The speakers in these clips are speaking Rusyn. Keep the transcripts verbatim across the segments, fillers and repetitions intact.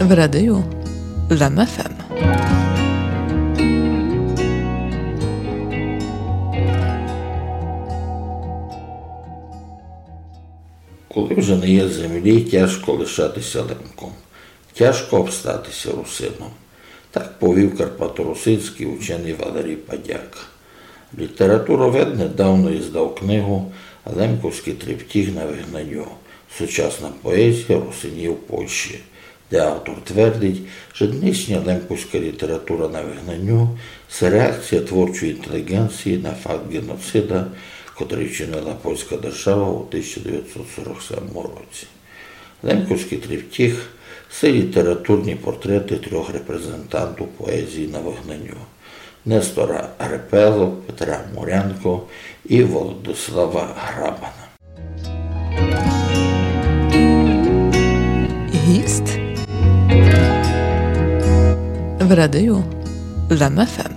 В радио Лем ФМ. Коли вже не є землі, тяжко лишатися лемком, тяжко обстатися русином. Так повів карпаторусинський учений Валерій Падяк. Літературовед недавно издав книгу «Лемковськый триптіх на выгнаню. Сучасна поезія русинів у Польщі», де автор твердить, що нынішня лемковська література на выгнаню — це реакція творчої інтелігенції на факт геноцида, котрый вчинила польська держава у тисяча девятсот сорок сьомому році. Лемковськый триптіх — це літературні портреты трьох репрезентантів поезії на выгнаню: Нестора Репелу, Петра Мурянку і Володислава Грабана. Гіст в радио Лем ФМ.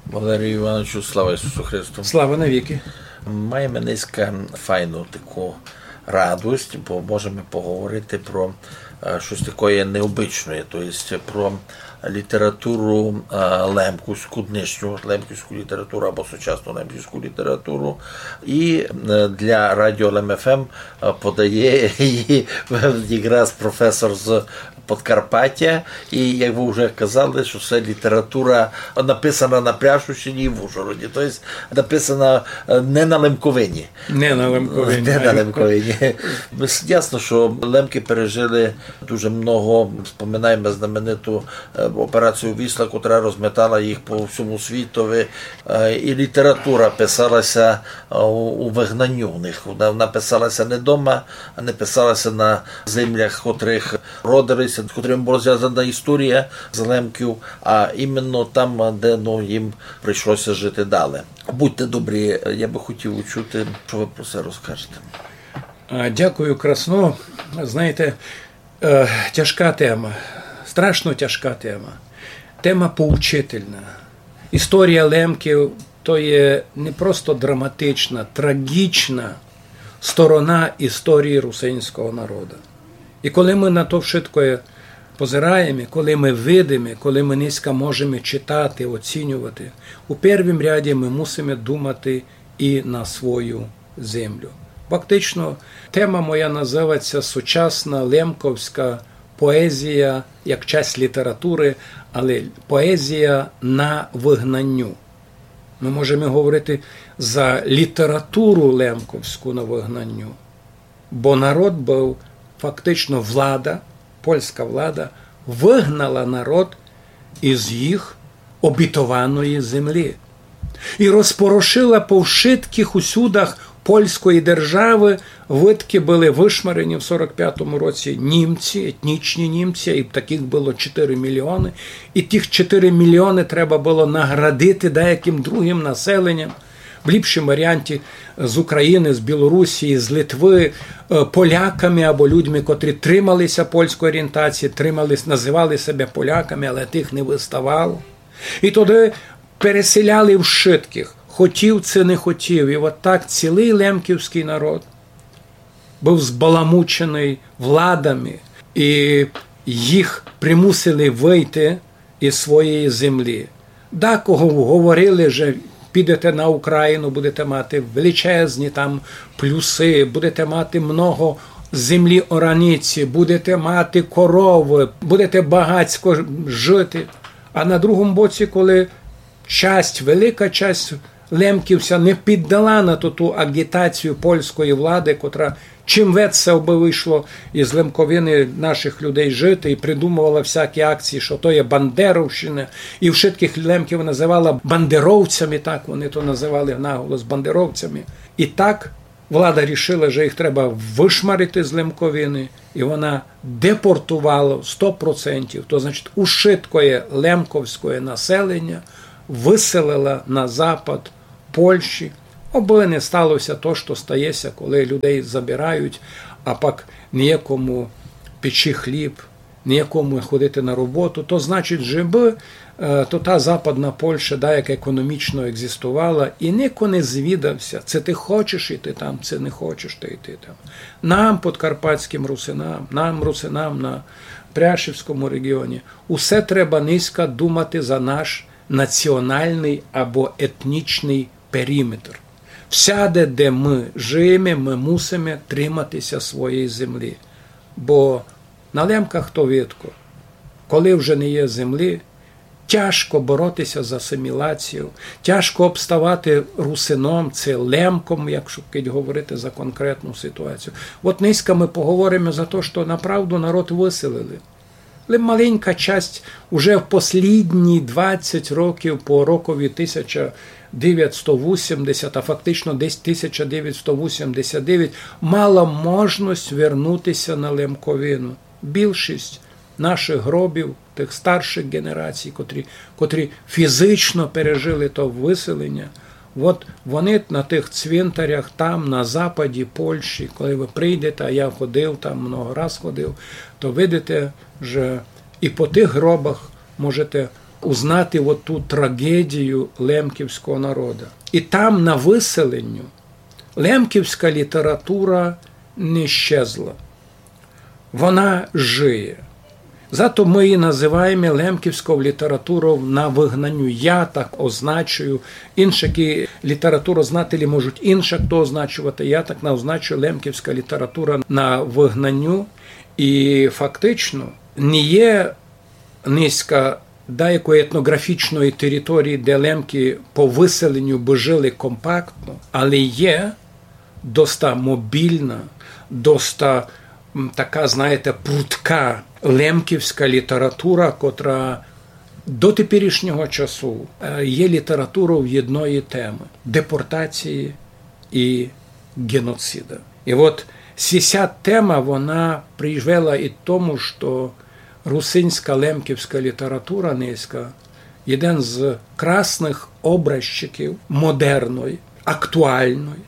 Валерію Івановичу, слава Ісусу Христу! Слава навіки! Маєме днеска файну таку радость, бо можеме поговорити про, е, штось такоє необычноє, то єсть про літературу, е, лемківську, днешню лемківську літературу або сучасну лемківську літературу. І, е, для Радіо Лем ФМ, е, подає її якраз професор з Подкарпатя. І, як вы вже казали, што се література написана на Пряшівщині і в Ужгороді. То єсть написана, е, не на Лемковині. Не на Лемковині. Не на Лемковині. Ясно, што лемки пережили дуже много. Споминаєме знамениту, е, операцію Вісла, котра розметала їх по всьому світови. Е, і література писала ся, е, у, у выгнаню у них. Вона, вона писала ся не дома, а не писала ся на землях, в котрых родили ся, з котрыми была звязана історія з лемків, а іменно там, де, ну, їм прийшло ся жити далі. Будьте добрі, я бы хотів учути, што вы про се розкажете. А, дякую красно. Знаєте, е, тяжка тема, страшно тяжка тема. Тема поучительна. Історія лемків — то є не просто драматична, трагічна сторона історії русинського народа. І коли мы на то вшытко позираєме, коли мы видиме, коли мы нынька можеме читати, оцінювати, у первім ряді мы мусиме думати і на свою землю. Фактично, тема моя называть ся «Сучасна лемковська поезія як часть літературы, але поезія на выгнаню». Мы можеме говорити за літературу лемковську на выгнаню. Бо народ быв, фактично влада, польська влада, выгнала народ из їх обітованої землі. І розпорошила по вшыткых усюдах польської державы, выдкы были вышмарені в сорок пятому році німці, етнічні німці, і такых было чотыри мільйоны. І тых чотыри мільйоны треба было наградити деякым другым населенням. В ліпшім варіанті з Україны, з Білорусі, з Литвы, е, поляками або людьми, котрі тримали ся польської орієнтації, тримали, называли себе поляками, але тых не выставало. І тогды переселяли вшыткых, хотів ци не хотів. І от так цілый лемківськый народ быв збаламученый владами, і їх примусили выйти из своєї землі. Дакого говорили, же підете на Україну, будете мати величезні там плюсы, будете мати много землі ораниці, будете мати коровы, будете багацько жити. А на другому боці, коли часть, велика часть лемків ся не піддала на ту, ту агітацію польської влади, котра чим веце, абы вышло из Лемковины нашых людей жити, і придумовала всякі акції, што то є бандеровщина, і вшыткых лемків называла бандеровцями, так вони то называли наголос, бандеровцями. І так влада рішила, што їх треба вышмарити з Лемковины, і вона депортовала сто процентів, то значить, ушыткоє лемковськоє населеня выселила на запад Польщі, абы не стало ся то, што стає ся, коли людей забирають, а пак ніякому печи хліб, ніякому ходити на роботу. То значить, же бы Е, то та Западна Польща, да, яка економічно екзистувала, і нико не звідав ся, ци ты хочеш іти там, ци не хочеш ты іти там. Нам, подкарпатськым русинам, нам, русинам на Пряшівському реґіоні, усе треба нынька думати за наш націоналный або етнічный периметр. Всяде, де мы жиєме, мы мусиме тримати ся своєї землі. Бо на Лемках то видко. Коли вже не є землі, тяжко бороти ся з асимілацією, тяжко обставати русином, ци лемком, якщо кидь говорити за конкретну ситуацію. От нынька мы поговориме за то, што направду народ выселили. Лем маленька часть уже в послідні двадцять років по рокові тисяча девятсто вісімдесят, а фактично десь тисяча девятсто вісімдесят девять, мала можность вернути ся на Лемковину. Більшість наших гробів, тых старшых ґенерацій, котрі, котрі фізично пережили то выселеня, от вони на тых цвинтарях там, на западі Польщі, коли вы прийдете, а я ходив там, много раз ходив, то видите, же і по тых гробах можете узнати от ту трагедію лемківського народа. І там, на выселеню, лемківська література не щезла. Вона жиє. Зато мы її называєме лемківською літературою на выгнаню. Я так означую. Іншакі літературознателі можуть іншак то означовати. Я так на-, означую лемківська література на выгнаню. І фактично не є нынька даякої етноґрафічної території, де лемки по выселеню бы жили компактно, але є доста мобільна, доста, м, така, знаєте, прудка лемківська література, котра до теперішнього часу, е, є літературою єдної темы — депортації і ґеноцида. І от сися тема, вона привела і тому, што русинська лемківська література нынька єден з красных образчиків модерної, актуальної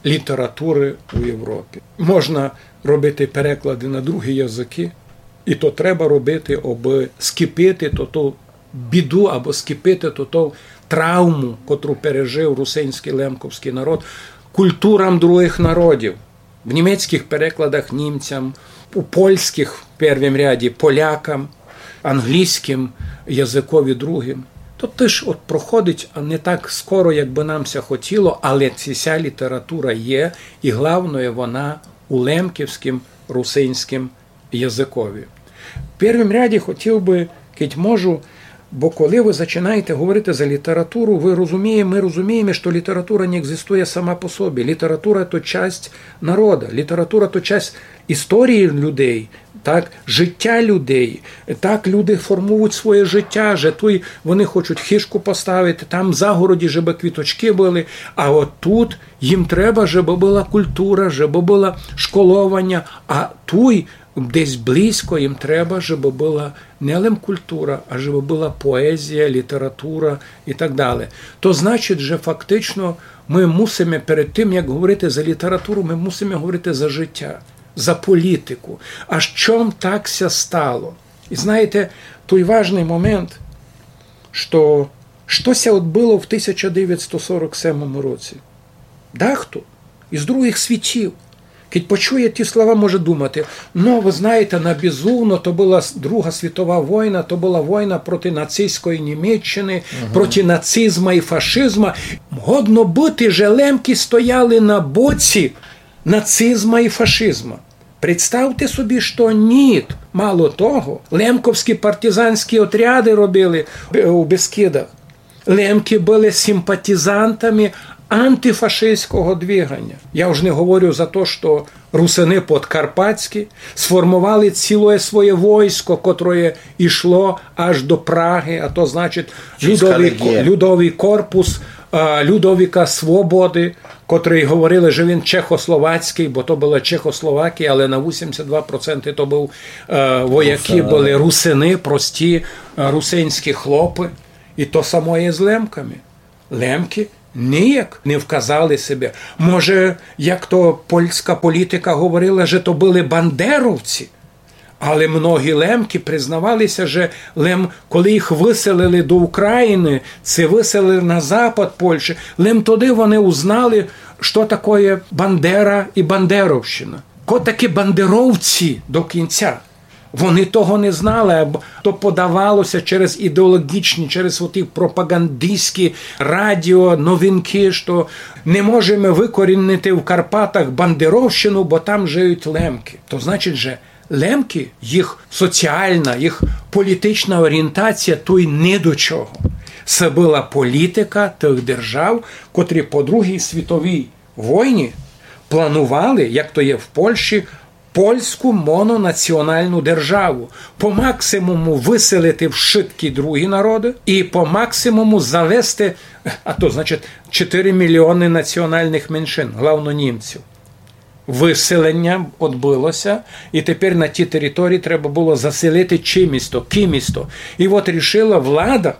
літературы у Європі. Можна робити переклады на другі языкы, і то треба робити, обы скіпити то, ту біду або скіпити то, ту травму, котру пережив русинськый лемковськый народ, культурам другых народів. В німецькых перекладах німцям, у польськых в первім ряді полякам, англійськым языкові другым. То тыж от проходить, а не так скоро, як бы нам ся хотіло, але ся література є, і главноє, вона у лемківськым русинськым языкові. В первім ряді хотів бы, кидь можу, бо коли вы зачинаєте говорити за літературу, вы розуміє-, мы розумієме, што література не екзистує сама по собі. Література то часть народа, література то часть історії людей, так, життя людей. Так люди формують своє життя, же туй вони хочуть хижку поставити, там в загороді, жебы квіточкы были, а от тут їм треба, жебы была культура, жебы было школованя, а туй десь близько їм треба, жебы была не лем культура, а жебы была поезія, література і так далі. То значить, же фактично мы мусиме перед тым, як говорити за літературу, мы мусиме говорити за життя, за політику. А з чом так ся стало? І знаєте, той важный момент, што, што ся одбыло в тисяча девятсто сорок семому році. Дахто із другых світів, кидь почує ті слова, може думати: «Ну, вы знаєте, на безумно, то была с-, Друга світова война, то была война проти нацистської Німеччины, проти нацизма і фашизма. Годно быти, же лемки стояли на боці нацизма і фашизма». Представте собі, што ніт. Мало того, лемковські партизанські отряды робили, е, у Бескидах. Лемки были симпатизантами антифашистського двиганя. Я уж не говорю за то, што русины подкарпатські сформовали цілоє своє войско, котроє ішло аж до Прагы, а то, значить, Людовий ко-, Людовий корпус, а, Людовика Свободы, котрый говорили, же він чехословацькый, бо то была Чехословакія, але на вісімдесят два проценты то быв, е, воякы, были русины, прості, е, русинські хлопы. І то самоє з лемками. Лемки ніяк не вказали себе. Може, як то польська політика говорила, же то были бандеровці. Але многі лемки признавали ся, же лем, коли їх выселили до Украины, ци выселили на запад Польщі, лем тогды вони узнали, што такоє Бандера і бандеровщина. Ко такі бандеровці до кінця. Вони того не знали, або то подавало ся через ідеологічні, через оті пропагандистські радіо, новинки, што не можеме выкорінити в Карпатах бандеровщину, бо там жиють лемки. То значить, же лемки, їх соціална, їх політична орієнтація туй ні до чого. Се была політика тых держав, котрі по Другій світовій войні планували, як то є в Польщі, польську мононаціоналну державу. По максимуму выселити вшыткі другі народы і по максимуму завести, а то, значить, чотири мільйоны націоналных меншин, главно німців. Выселеня одбыло ся, і тепер на тій території треба было заселити чимось то, кимось то. І от рішила влада,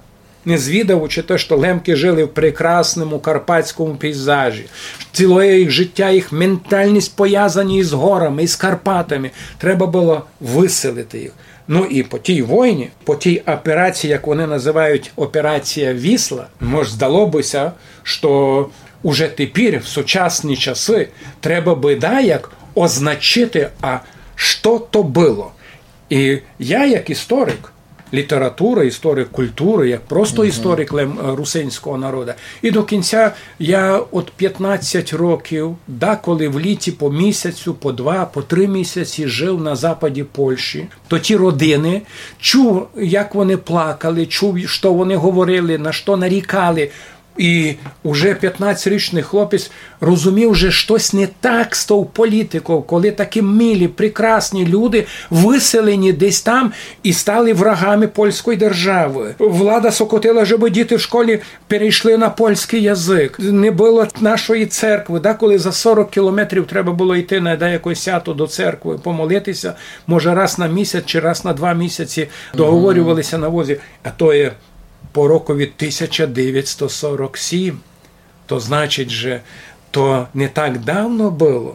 не звідавучи те, што лемки жили в прекрасному карпатському пейзажі, цілоє їх життя, їх ментальность повязані із горами, із Карпатами, треба было выселити їх. Ну і по тій войні, по тій операції, як вони називають операція Вісла, мож здало бы ся, што уже тепер, в сучасні часы, треба бы даяк означити, а што то было. І я, як історик літературы, історик культуры, як просто історик лем-, е, русинського народа, і до кінця я от пятнадцять років, деколи в літі по місяцю, по два, по три місяці жив на западі Польщі. То ті родины, чув, як вони плакали, чув, што вони говорили, на што нарікали. І уже пятнадцятирічный хлопець розумів, же штось не так з тов політиков, коли такі милі, прекрасні люди выселені десь там і стали врагами польської державы. Влада сокотила, жебы діти в школі перейшли на польськый язык. Не было нашої церкви. Деколи за сорок кілометрів треба было йти на деяке свято до церкви, помолити ся, може, раз на місяць чи раз на два місяці договорювали ся на возі. А то є по рокові тисяча девятсто сорок сім. То значить, же то не так давно было.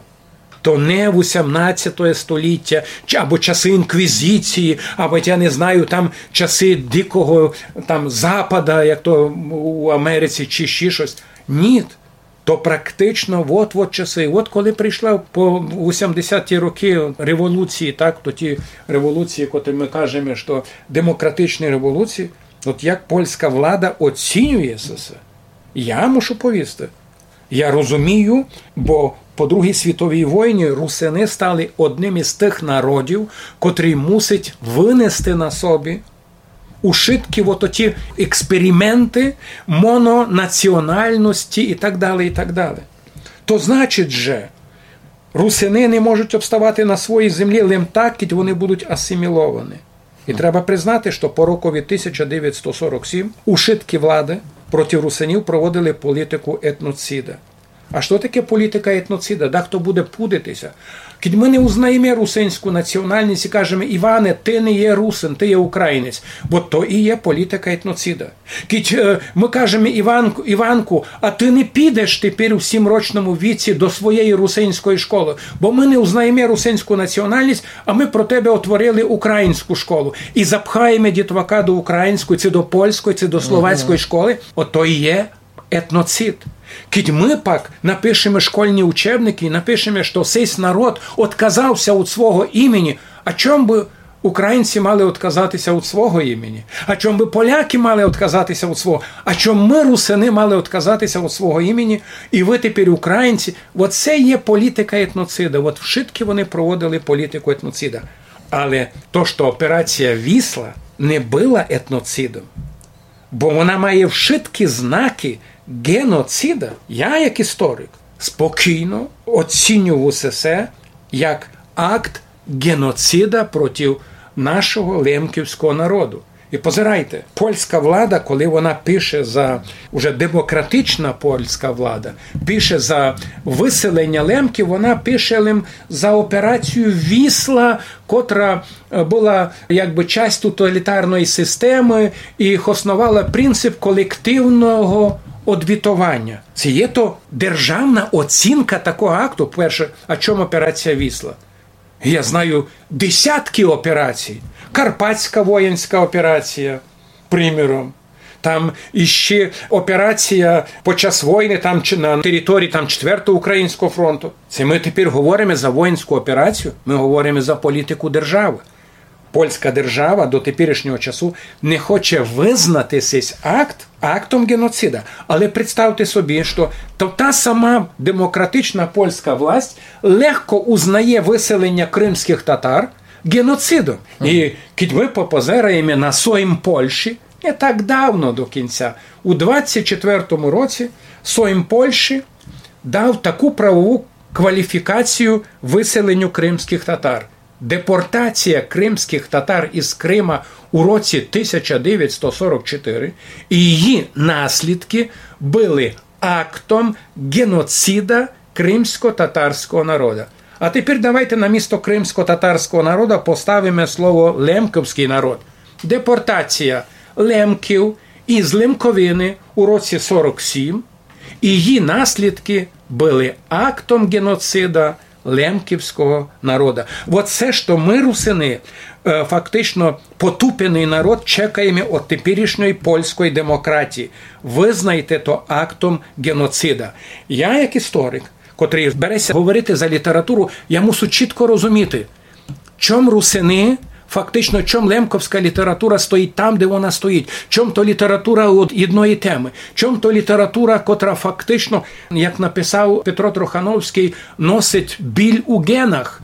То не вісімнадцяте століття, чи, або часы інквізиції, або, я не знаю, там часы дикого там запада, як то у Америці, чи ще штось. Ні. То практично от, от часы. От коли прийшла по вісімдесяті рокы революції, так, то ті революції, котрі мы кажеме, што демократичні революції, от як польська влада оцінює се всьо, я мушу повісти. Я розумію, бо по Другій світовій войні русины стали одним із тых народів, котрый мусить вынести на собі ушыткі от оті експерименты мононаціональности і так далі, і так далі. То значить же, русины не можуть обставати на своїй землі лем так, кідь вони будуть асиміловані. І треба признати, што по рокові тисяча девятсто сорок сім ушыткі влады проти русинів проводили політику етноцида. А што таке політика етноцида? Дехто буде пудити ся. Кідь мы не узнаєме русинську націоналность і кажеме: «Іване, ты не є русин, ты є українець». Бо то і є політика етноцида. Кідь, е, мы кажеме: «Іванку, Іванку, а ты не підеш тепер у сімрочному віці до своєї русинської школы, бо мы не узнаєме русинську націоналность, а мы про тебе отворили українську школу». І запхаєме дітвака до української, ци до польської, ци до словацької школы. Ото і є етноцид. Кідь мы пак напишеме школьні учебникы і напишеме, што сись народ отказав ся од свого імені, а чом бы українці мали отказати ся од свого імені? А чом бы поляки мали отказати ся од свого? А чом мы, русины, мали отказати ся од свого імені? І вы тепер українці. От се є політика етноцида. От вшыткі вони проводили політику етноцида. Але то, што операція Вісла не была етноцидом, бо вона має вшыткі знакы геноцида, я, як історик, спокійно оцінюю усе се як акт геноцида проти нашого лемківського народу. І позирайте, польська влада, коли вона пише за, уже демократична польська влада, пише за выселеня лемків, вона пише лем за операцію Вісла, котра, е, была якбы часть тоталітарної системы і хосновала принцип колективного одвітованя. Се є то державна оцінка такого акту. Перше, а чом операція Вісла? Я знаю десятки операцій. Карпатська воїнська операція, приміром. Там іщи операція під час войны там, чи на території там Четвертого Українського фронту. Се мы тепер говориме за воїнську операцію, мы говориме за політику державы. Польська держава до теперішнього часу не хоче визнати сей акт актом геноцида. Але представте собі, што то та сама демократична польська власть легко узнає выселеня кримськых татар геноцидом. І кідь мы попозераєме на Сойм Польщі, не так давно до кінця, у двадцять четвертому році Сойм Польщі дав таку правову кваліфікацію выселеню кримськых татар. Депортація кримськых татар із Крима у році тисяча девятсто сорок чотири і її наслідки были актом геноцида кримсько-татарського народа. А тепер давайте на місто кримсько-татарського народа поставиме слово лемковськый народ. Депортація лемків із Лемковины у році сорок сім і її наслідки были актом геноцида лемківського народа. Вот се, што мы, русины, е, фактично потупеный народ, чекаєме од теперішньої польської демократії. Визнайте то актом геноцида. Я, як історик, котрый бере ся говорити за літературу, я мусу чітко розуміти, чом русины, фактично, чом лемковська література стоїть там, де вона стоїть, чом то література од єдної темы, чом то література, котра фактично, як написав Петро Трохановськый, носить біль у генах.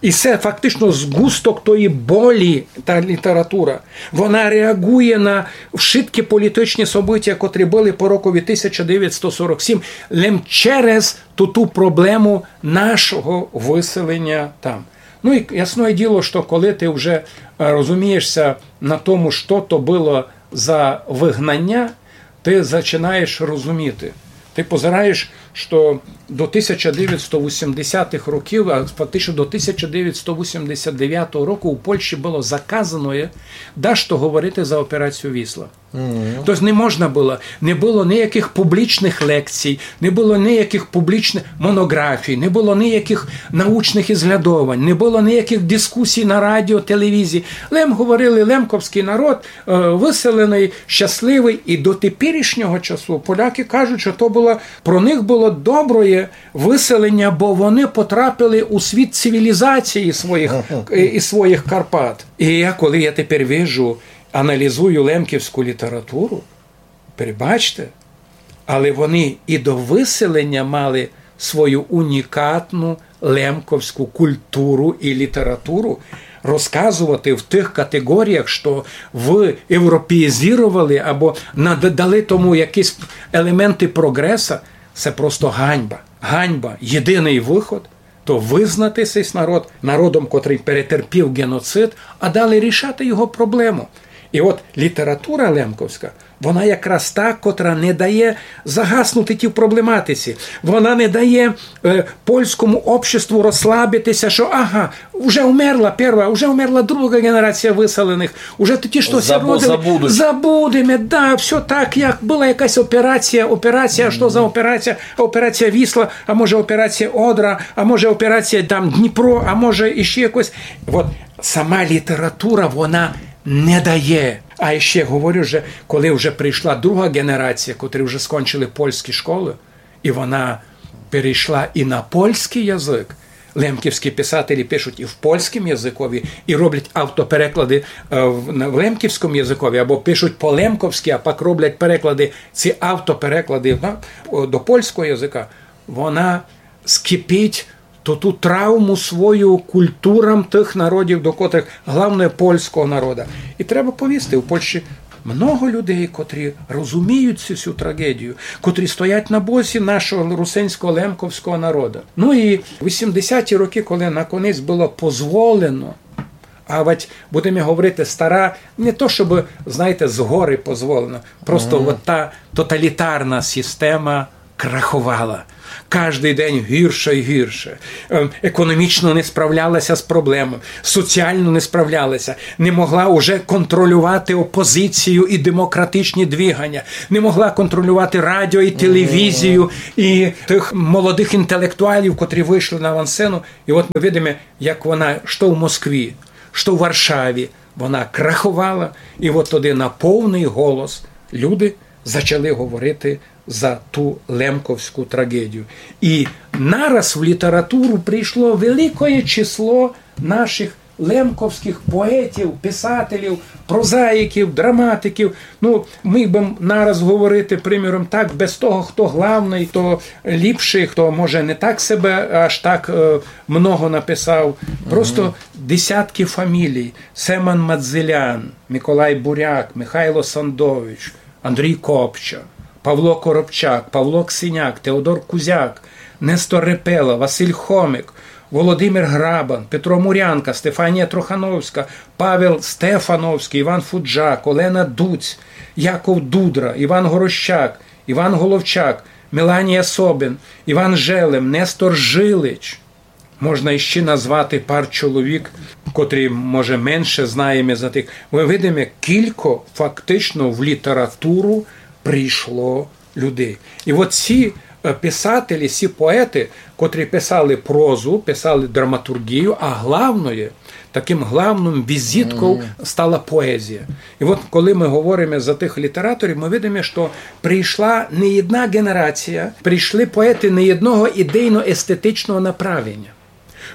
І се фактично згусток тої болі, та література. Вона реагує на вшыткі політичні события, котрі были по рокові тисяча девятсто сорок сім, лем через ту, ту проблему нашого выселеня там. Ну і ясне діло, што коли ты вже, е, розумієш ся на тому, што то было за выгнаня, ты зачинаєш розуміти. Ты позираєш, што до тисяча девятсто вісімдесятых років, а фактично до тисяча девятсто вісімдесят девятого року у Польщі было заказано дашто говорити за операцію Вісла. Тобто не можна было, не было ніякых публічных лекцій, не было ніякых публічных монографій, не было ніякых научных ізглядовань, не было ніякых дискусій на радіо, телевізії. Лем говорили, лемковськый народ, е, выселеный, щасливый. І до теперішнього часу поляки кажуть, што то было, про них было доброє выселеня, бо вони потрапили у світ цивілізації своїх, е, і своїх Карпат. І я, коли я тепер вижу, аналізую лемківську літературу, перебачте, але вони і до выселеня мали свою унікатну лемковську культуру і літературу, розказовати в тых категоріях, што вы європеїзировали або надали тому якісь елементы прогреса, се просто ганьба. Ганьба. Єдиный выход то вызнати сей народ народом, котрый перетерпів геноцид, а далі рішати його проблему. І от література лемковська, вона якраз та, котра не дає загаснути тій проблематиці. Вона не дає, е, польському обществу розслабити ся, што, ага, вже умерла перша, вже умерла друга генерація выселеных, уже ті, што ся родили, забудеме, да, всьо так, як была якась операція, операція, што за операція? Операція Вісла, а може операція Одра, а може операція там Дніпро, а може іщи якось. От сама література, вона не дає. А іщи говорю, што коли вже прийшла друга генерація, котрі вже скончили польські школы, і вона перейшла і на польськый язык, лемківські писателі пишуть і в польськім языкові, і роблять автопереклады, е, в, на, в лемківському языкові, або пишуть по-лемковськи, а пак роблять переклады, ці автопереклады, да, до польського языка, вона скипить ту, ту травму свою культурам тых народів, до котрых, главне, польського народа. І треба повісти, у Польщі много людей, котрі розуміють цю всю трагедію, котрі стоять на боці нашого русинського лемковського народа. Ну і вісімдесяті рокы, коли наконець было позволено, а вать, будеме говорити, стара, не то, щоб, знаєте, згори позволено, просто от та тоталітарна система Краховала. Каждый день гірше і гірше. Е, економічно не справлялася з проблемами, соціално не справлялася, не могла уже контролювати опозицію і демократичні двигання, не могла контролювати радіо і телевізію і тих молодих інтелектуалів, котрі вышли на авансцену. І от мы видиме, як вона, што в Москві, што в Варшаві, вона краховала, і от тоді на повный голос люди зачали говорити за ту лемковську трагедію. І нараз в літературу прийшло великоє число наших лемковськых поетів, писателів, прозаїків, драматиків. Ну, міг бы нараз говорити, приміром, так, без того, хто главный, хто ліпшый, хто, може, не так себе аж так, е, много написав. Просто десятки фамілій. Семен Мадзелян, Миколай Буряк, Михайло Сандович, Андрій Копча, Павло Коробчак, Павло Ксеняк, Теодор Кузяк, Нестор Репела, Василь Хомик, Володимир Грабан, Петро Мурянка, Стефанія Трохановська, Павел Стефановськый, Іван Фуджак, Олена Дуць, Яков Дудра, Іван Горощак, Іван Головчак, Меланія Собин, Іван Желем, Нестор Жилич. Можна іщи назвати пар чоловік, котрі, може, менше знаєме за тых. Мы видиме, кілько фактично в літературу прийшло людей. І от ці, е, писателі, ці поети, котрі писали прозу, писали драматургію, а главноє, таким главным візитков стала поезія. І от коли мы говориме за тых літераторів, мы видиме, што прийшла не єдна ґенерація, прийшли поети не єдного ідейно-естетичного направлення.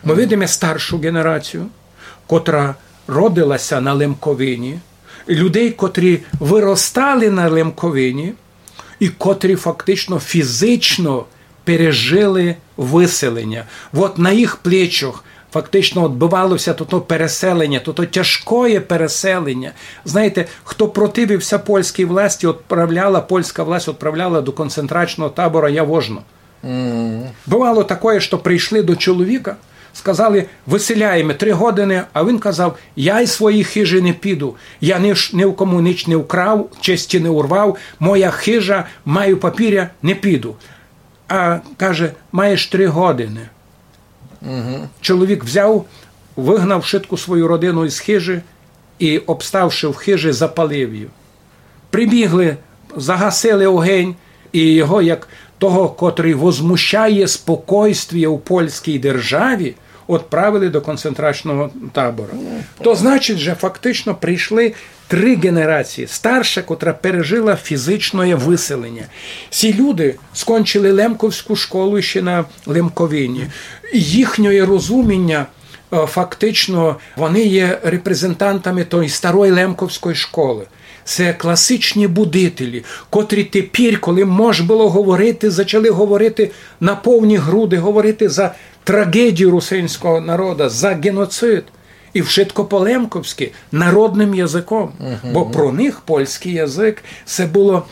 Мы видиме старшу ґенерацію, котра родилася на Лемковині, людей, котрі выростали на Лемковині, і котрі фактично фізично пережили выселеня. От на їх плечах фактично одбывалося тото переселеня, тото тяжкоє переселеня. Знаєте, хто противився польській власті, отправляла, польська власть отправляла до концентрачного табора Явожно. Бывало такоє, што прийшли до чоловіка, сказали: «Выселяєме, три годины», а він казав: «Я из своєї хижі не піду, я ни, ш- ни в кому нич не вкрав, честі не урвав, моя хижа, маю папіря, не піду». А каже: «Маєш три годины». Чоловік взяв, выгнав шытку свою родину из хижі і, обставши в хижі, запалив її. Прибігли, загасили огень, і його, як того, котрый возмущає спокойствіє у польській державі, отправили до концентрачного табора. То значить, же фактично прийшли три ґенерації. Старша, котра пережила фізичноє выселеня. Ці люди скончили Лемковську школу іщи на Лемковині. Їхнє розуміння, е, фактично, вони є репрезентантами тої старої лемковської школи. Се класичні будителі, котрі тепер, коли мож было говорити, зачали говорити на повні груди, говорити за трагедію русинського народа, за ґеноцид. І вшытко по-лемковськи, народным языком. Бо про них польськый язык, се было,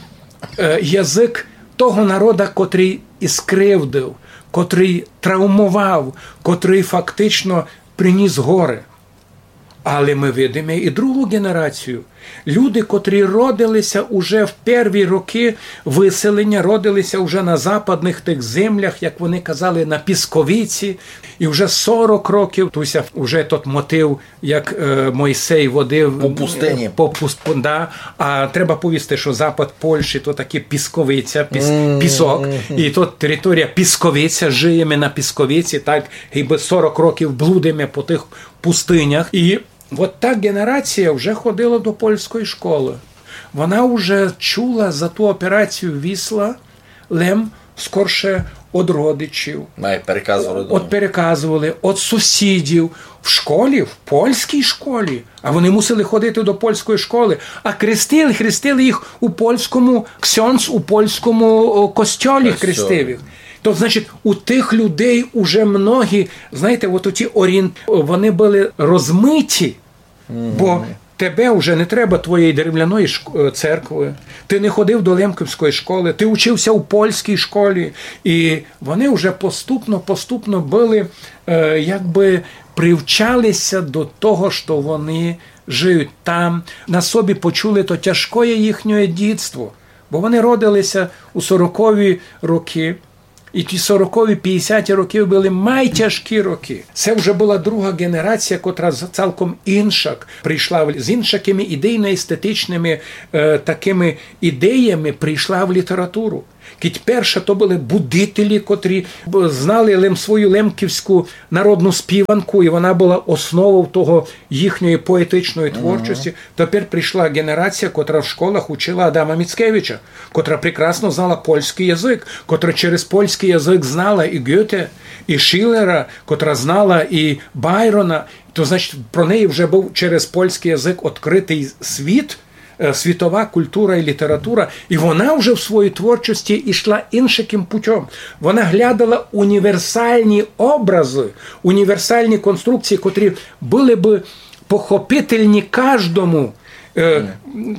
е, язык того народа, котрый і скривдив, котрый травмовав, котрый фактично приніс горе. Але мы видиме і другу ґенерацію. Люди, котрі родилися уже в перві роки выселеня, родилися уже на западных тых землях, як вони казали, на Пісковиці. І вже сорок років, туй ся уже тот мотив, як, е, Мойсей водив, по пустыні. По пуст-, да. А треба повісти, што запад Польщі то таки Пісковиця, піс-, пісок. І то територія Пісковиця, жиєме на Пісковиці, так, гибы сорок років блудиме по тых пустынях. І от та ґенерація вже ходила до польської школы. Вона вже чула за ту операцію Вісла лем скорше од родичів. Май переказували дома. От переказували, од сусідів. В школі, в польській школі. А вони мусили ходити до польської школы. А крестили, хрестили їх у польському, ксьондз у польському, о, костьолі хрестив їх. То, значить, у тых людей уже многі, знаєте, от оті орієнт-, вони были розмиті, бо тебе вже не треба твоєї деревляної шк-, е, церкви, ти не ходив до Лемковської школы, ти учився у польській школі, і вони вже поступно, поступно были, е, якби привчалися до того, што вони жиють там, на собі почули то тяжкоє їхнє дітство. Бо вони родили ся у сорокові роки, і ті сорокові, пятдесяті роки были майтяжкі роки. Се вже была друга ґенерація, котра з-, цалком иншак прийшла в-, з иншакыми ідейно-естетичными, е, такыми ідеями прийшла в літературу. Кідь перша то были будителі, котрі б-, знали лем свою лемківську народну співанку, і вона была основов того їхньої поетичної творчості. Тепер прийшла ґенерація, котра в школах учила Адама Міцкевича, котра прекрасно знала польськый язык, котра через польськый язык знала і Гёте, і Шілера, котра знала і Байрона. То, значить, про неї вже быв через польськый язык відкрытый світ, е, світова культура і література, і вона вже в своїй творчості йшла иншакым путём. Вона глядала універсальні образы, універсальні конструкції, котрі были бы похопительні каждому. Е,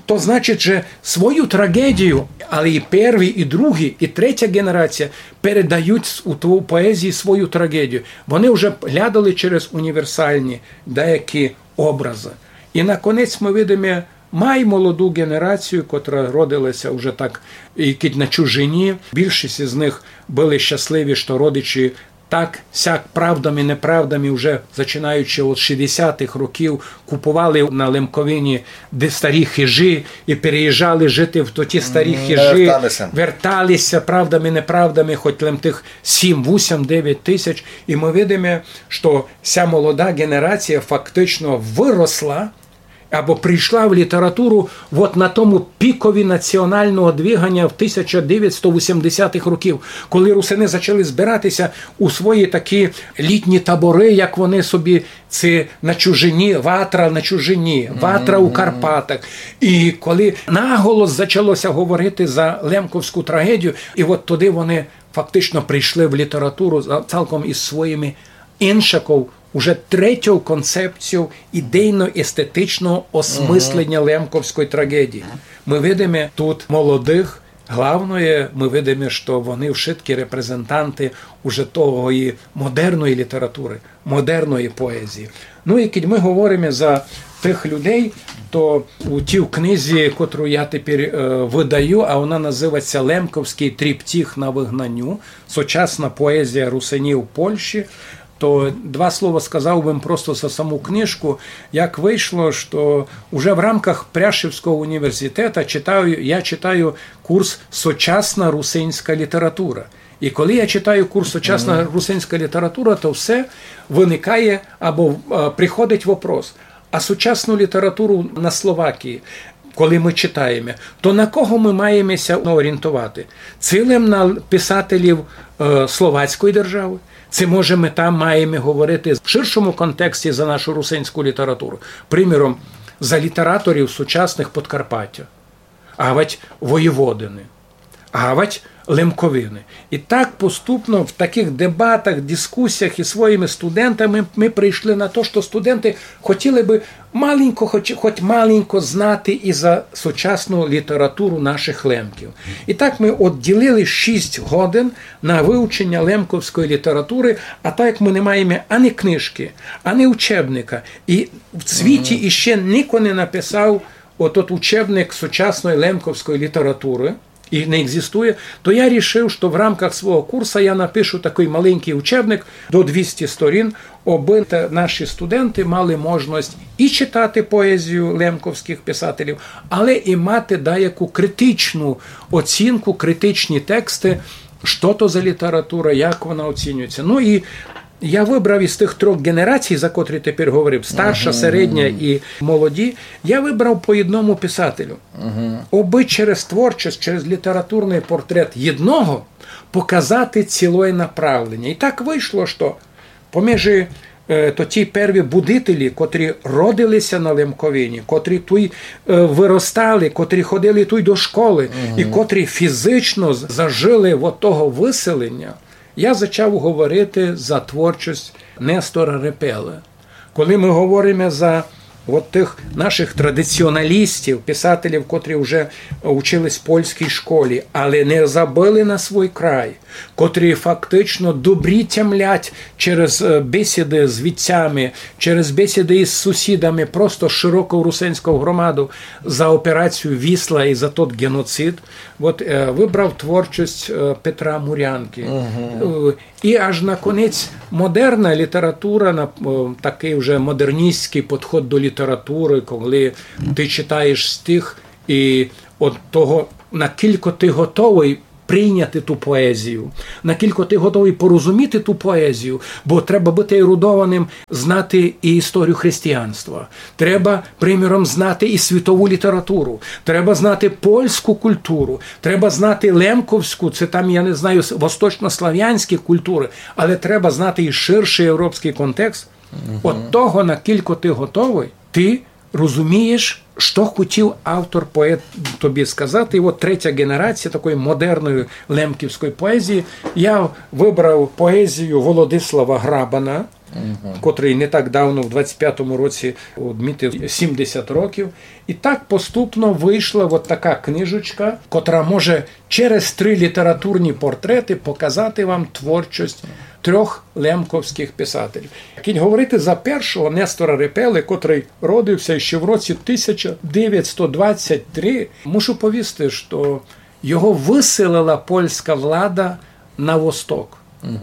то значить, же свою трагедію, але і перві, і другі, і третя ґенерація передають с-, у тво-, поезії свою трагедію. Вони вже глядали через універсальні деякі образы. І наконець мы видиме май молоду ґенерацію, котра родила ся вже так, і кідь на чужині. Більшість із них были щасливі, што родичі так, сяк, правдами, неправдами, вже зачинаючи від шістдесятых років, купували на Лемковині де старі хижі і переїжджали жити в ті старі хижі, вертали ся, правдами, неправдами, хоть лем тых сім, вісім, девять тисяч. І мы видиме, што ся молода ґенерація фактично выросла або прийшла в літературу от на тому пікові націоналного двиганя в тисяча девятсто вісімдесятых років, коли русины зачали збирати ся у свої такі літні таборы, як вони собі, ци на чужині, ватра на чужині, ватра у Карпатах. І коли наголос зачало ся говорити за лемковську трагедію, і от тоді вони фактично прийшли в літературу за-, цалком із своїми иншаков, уже третьов концепційов ідейно-естетичного осмысленя лемковської трагедії. Мы видиме тут молодых, главноє, мы видиме, што вони вшыткі репрезентанты уже тої модерної літературы, модерної поезії. Ну і кідь мы говориме за тых людей, то у тій книзі, котру я тепер, е, выдаю, а вона называть ся «Лемковськый триптих на выгнаню. Сучасна поезія русинів у Польщі», то два слова сказав бы просто за саму книжку. Як вышло, што уже в рамках Пряшівського універзітета читаю, я читаю курс «Сучасна русинська література». І коли я читаю курс «Сучасна русинська література», то все выникає або, е, приходить вопрос: а сучасну літературу на Словакії, коли мы читаєме, то на кого мы маєме ся орієнтовати? Ци лем на писателів, е, словацької державы? Ци, може, мы там маєме говорити в ширшому контексті за нашу русинську літературу? Приміром, за літераторів сучасных Подкарпатя, авадь Воєводины, авадь Лемковины. І так поступно в такых дебатах, дискусіях із своїми студентами мы прийшли на то, што студенты хотіли бы маленько, хоть, хоть маленько знати і за сучасну літературу нашых лемків. І так мы одділили шість годин на вывченя лемковської літературы, а так як мы не маєме ані книжкы, ані учебника, і в світі іщи нико не написав отот учебник сучасної лемковської літературы, і не екзистує, то я рішив, што в рамках свого курса я напишу такый маленькый учебник до двісті сторін, обы те-, наші студенты мали можность і читати поезію лемковськых писателів, але і мати даяку критичну оцінку, критичні тексты, што то за література, як вона оцінюється. Ну і я выбрав із тых трьох ґенерацій, за котрі тепер говорив, старша, середня і молоді, я выбрав по єдному писателю. Обы через творчость, через літературный портрет єдного показати цілоє направленя. І так вышло, што поміж, е, то ті перві будителі, котрі родили ся на Лемковині, котрі туй, е, выростали, котрі ходили туй до школы, і котрі фізично з-, зажили од того выселеня, я зачав говорити за творчость Нестора Репелы. Коли мы говориме за От тых нашых традиціоналістів, писателів, котрі вже учились в польській школі, але не забыли на свій край, котрі фактично добрі тямлять через, е, бесіды з вітцями, через бесіды із сусідами, просто широку русинську громаду за операцію «Вісла» і за тот геноцид. От, е, выбрав творчость, е, Петра Мурянкы. Е, і аж наконець модерна література, на, е, такый вже модерністськый підход до літературы, коли ты читаєш стих і од того, накілько ты готовый прийняти ту поезію, накілько ты готовый порозуміти ту поезію, бо треба быти ерудованым, знати і історію християнства. Треба, приміром, знати і світову літературу. Треба знати польську культуру. Треба знати лемковську, це там, я не знаю, с-, восточнославянські культуры. Але треба знати і ширшый європськый контекст. От того, накілько ты готовый, ты розумієш, што хотів автор, поет тобі сказати. І от третя генерація такої модерної лемківської поезії. Я выбрав поезію Володислава Грабана, котрый не так давно, в двадцять пятому році, одмітив сімдесят років. І так поступно вышла от така книжечка, котра може через три літературні портреты показати вам творчость трьох лемковськых писателів. Кідь говорити за першого, Нестора Репелы, котрый родився ще в році тисяча девятсто двадцять три, мушу повісти, што його выселила польська влада на восток.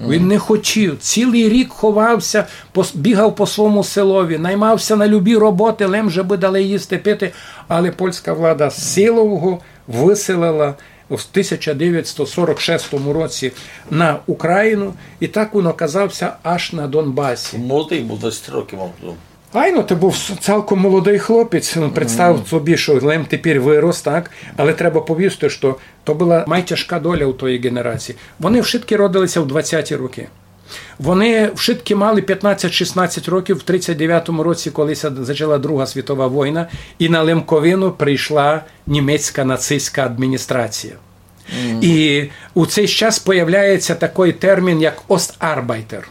Він не хотів. Цілый рік ховався, пос-, бігав по свому селові, наймався на любі роботы, лем же бы дали їсти, пити. Але польська влада силою його выселила в тисяча девятсто сорок шестому році на Україну, і так він оказався аж на Донбасі. Молодый быв, двадцять років мав тоді. Айно, ты быв с-, цілком молодый хлопець. Ну, представ собі, што лем тепер вырос, так? Але треба повісти, што то была май тяжка доля у тої генерації. Вони вшыткі родилися в двадцяті рокы. Вони вшыткі мали пятнадцять-шістнадцять років в тридцять девятому році, коли ся зачала Друга світова война, і на Лемковину прийшла німецька нацистська адміністрація. І у цей час появляється такий термін, як остарбайтер.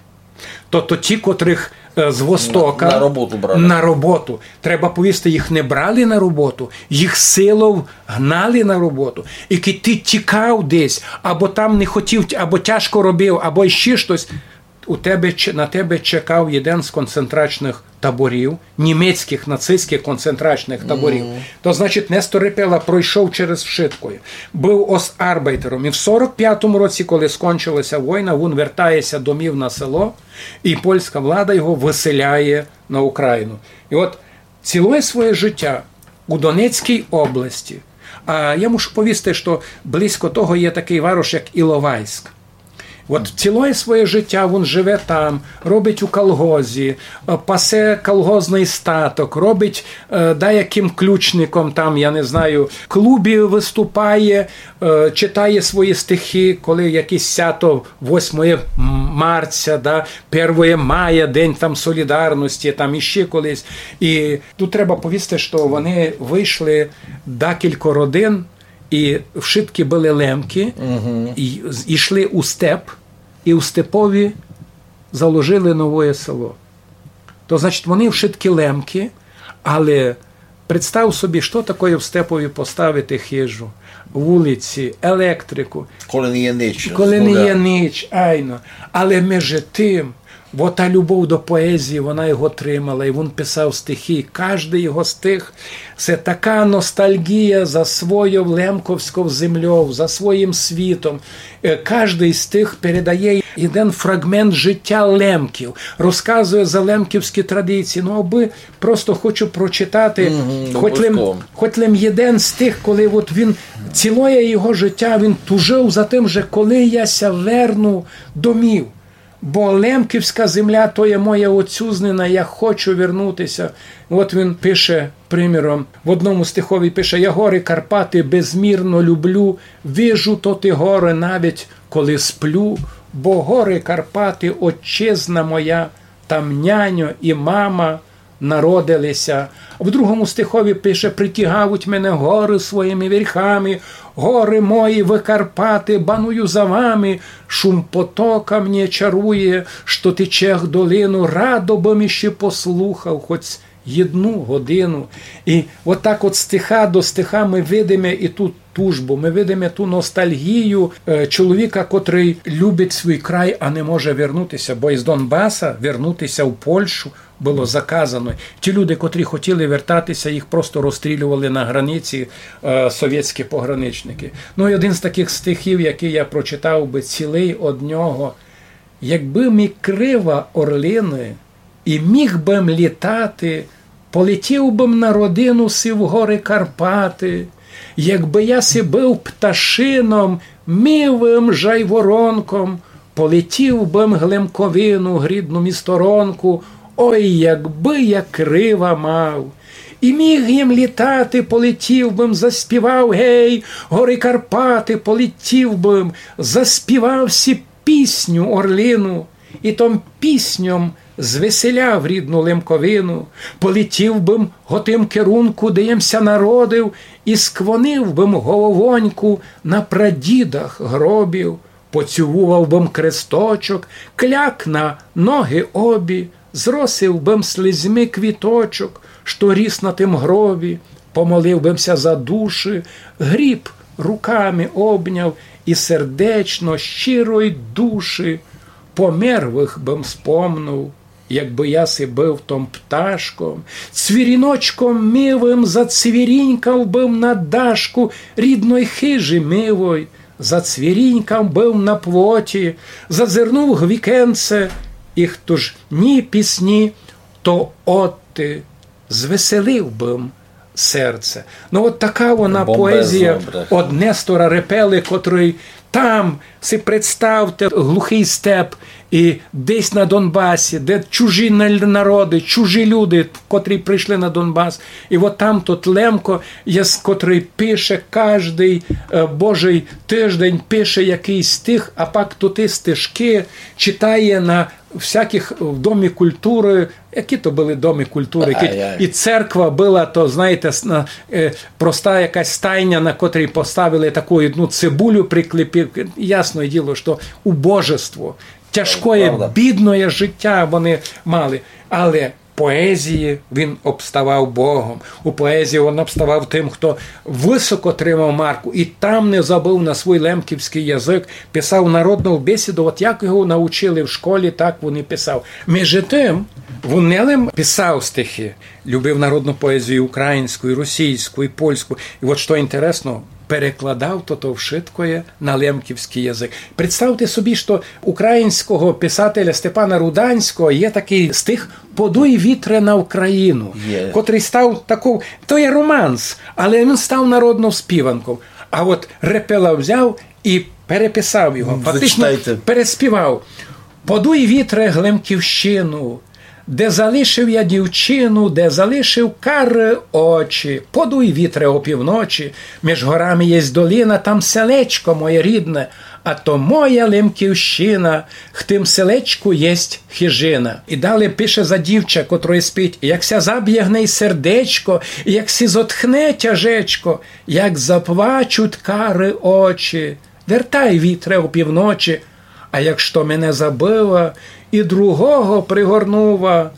Тобто ті, котрых, е, з Востока на, на роботу брали. На роботу. Треба повісти, їх не брали на роботу, їх силов гнали на роботу. І кідь ты тікав десь, або там не хотів, або тяжко робив, або іщи штось, у тебе, ч-, на тебе чекав єден з концентрачных таборів, німецькых нацистськых концентрачных таборів. То, значить, Нестор Репела пройшов через вшыткоє. Быв остарбайтером. І в сорок пятому році, коли скончилася война, він вертається домів на село, і польська влада його выселяє на Україну. І от цілоє своє життя у Донецькій області. А я мушу повісти, што близько того є такый варош, як Іловайськ. От цілоє своє життя він живе там, робить у колгозі, е, пасе колгозный статок, робить, е, даякым ключником там, я не знаю, в клубі выступає, е, читає свої стихи, коли якесь свято восьмоє марця, да, первоє мая, День там солідарности, там іщи колись. І тут треба повісти, што вони вышли декілько родин, і вшыткі были лемкы, і з-, ішли у степ, і у степові заложили новоє село. То, значить, вони вшыткі лемкы, але представ собі, што такоє в степові поставити хижу, вулиці, електрику. Коли не є нич, коли не є нич, айно. Але межи тым, бо та любов до поезії, вона його тримала, і він писав стихи. Каждый його стих — се така ностальгія за свойов лемковськов землёв, за своїм світом. Е, каждый з тых передає єден фраґмент життя лемків, розказує за лемківські традиції. Ну, абы просто хочу прочитати, хоть лем, хоть лем єден з тых, коли от він, цілоє його життя він тужив за тым же, коли я ся верну домів. Бо лемківська земля — то є моя отцюзнина, я хочу вернутися. От він пише, приміром, в одному стихові пише: «Я горы Карпаты безмірно люблю, вижу тоты горы навіть, коли сплю, бо горы Карпаты — отчизна моя, там няньо і мама народили ся». В другому стихові пише: «Притягавуть мене горы своїми верхами, горы мої вы, Карпаты, баную за вами, шум потока мне чарує, што тече в долину, радо бым іщи послухав, хоть єдну годину. І от так от стиха до стиха ми видиме і ту тужбу, ми видиме ту ностальгію е, чоловіка, котрый любить свій край, а не може вернутися, бо із Донбаса вернутися в Польщу было заказано. Ті люди, котрі хотіли вертатися, їх просто розстрілювали на границі е, совєтські пограничники. Ну і один з таких стихів, який я прочитав би цілий од нього: Якби мі крила орлины, і міг бы м літати, полетів бы м на родину си в горы Карпаты. Якбы я си быв пташином, милым жайворонком, полетів бы м глемковину, грідну мі сторонку, ой, якбы я крила мав. І міг єм літати, полетів бы м, заспівав, гей, горы Карпаты, полетів бы м, заспівав сі пісню орлину, і том пісньом звеселяв рідну Лемковину, полетів бы м го тым керунку, де єм ся народив, і склонив бы м головоньку на прадідах гробів, поцілував бы м кресточок, кляк на ноги обі, зросив бы м слезьми квіточок, што ріс на тым гробі, помолив бы м ся за душі, гріб руками обняв і сердечно, щирой душі, померлых бы м спомнув. Якбы я си быв том пташком, цвіріночком милым, зацвірінькав бы м на дашку рідной хижі милой, зацвірінькав бы м на плоті, зазирнув в вікенце, і хто ж ні пісні, то отти звеселив бы м серце. Ну, от така вона поезія од Нестора Репели, котрый там, си представте, глухый степ, і десь на Донбасі, де чужі на-, народы, чужі люди, котрі прийшли на Донбас. І от там тот Лемко, є, котрый пише каждый е, божый тиждень, пише якыйсь стих, а пак туты стишкы читає на всякых в Домі культуры, які то были Домі культуры, які, і церква была, то, знаєте, с-, на, е, проста якась стайня, на котрій поставили таку одну цибулю, приклепив. Ясне діло, што убожество, тяжкоє, бідноє життя вони мали. Але поезії він обставав Богом. У поезії він обставав тым, хто высоко тримав марку і там не забыв на свій лемківськый язык, писав народну бесіду, от як його научили в школі, так він і писав. Межи тым, він не лем писав стихи, любив народну поезію українську, і російську, і польську. І от што інтересно, перекладав то, то вшыткоє на лемківськый язык. Представте собі, што українського писателя Степана Руданського є такый стих «Подуй, вітре, на Україну», котрый став таков, то є романс, але він став народнов співанков. А от Репела взяв і переписав його, фактично переспівав. «Подуй, вітре, Глемківщину, де залишив я дівчину, де залишив карі очі. Подуй, вітре, опівночі, меж горами єсть долина, там селечко моє рідне, а то моя Лемківщина, в тым селечку єсть хижина». І далі пише за дівча, котроє спить: «Як ся заб'є в ней сердечко, як сі зотхне тяжечко, як заплачуть карі очі. Вертай, вітре, опівночі, а як што мене забыла і другого пригорнула,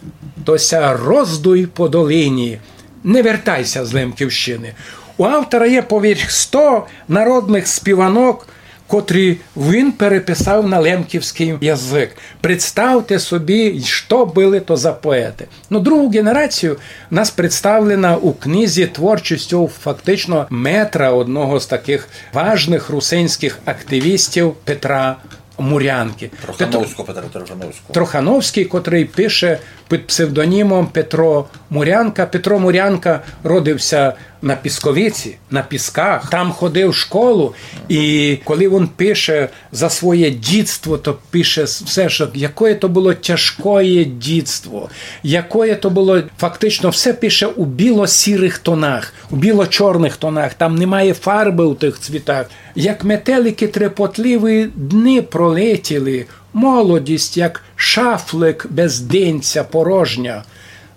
то ся роздуй по долині, не вертай ся з Лемківщины». У автора є поверх сто народных співанок, котрі він переписав на лемківськый язык. Представте собі, што были то за поеты. Ну, другу ґенерацію нас представлена у книзі творчістю фактично метра, одного з такых важных русинськых активістів Петра Мурянкы. Трохановського Петра, Трохановського. Трохановськый, котрый пише під псевдонімом Петро Мурянка. Петро Мурянка родив ся на Пісковиці, на Пісках. Там ходив в школу, і коли він пише за своє дітство, то пише с-, все, што якоє то было тяжкоє дітство, якоє то было, фактично все пише у біло-сірых тонах, у біло-чорных тонах, там немає фарбы у тых цвітах. Як метеликы трепотливі дни пролетіли, молодість, як шафлик без денця порожня,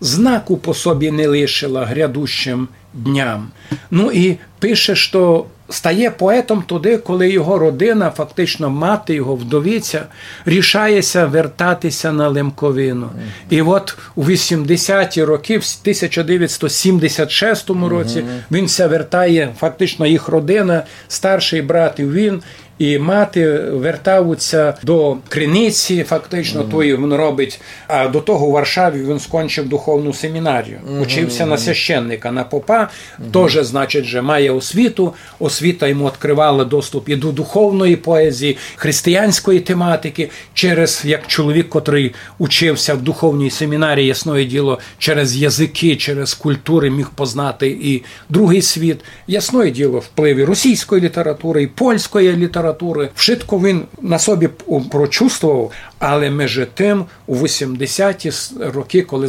знаку по собі не лишила грядущим дням. Ну і пише, што Стає поетом тоді, коли його родина, фактично мати його, вдовиця, рішає ся вертати ся на Лемковину. І от у вісімдесяті роки, в тисяча девятсто сімдесят шестому році, він ся вертає, фактично їх родина, старшый брат і він, і мати вертавуть ся до Криниці, фактично, то і він робить. А до того у Варшаві він скончив духовну семінарію. Учив ся на священника, на попа, тоже, значить, же має освіту, освіта йому відкривала доступ і до духовної поезії, християнської тематики, через, як чоловік, котрый учив ся в духовній семінарії, ясноє діло, через языки, через культуры міг познати і другый світ. Ясноє діло, впливы російської літературы, і польської літературы. Вшытко він на собі п-, прочувствовав, але межи тым у вісімдесяті с-, роки, коли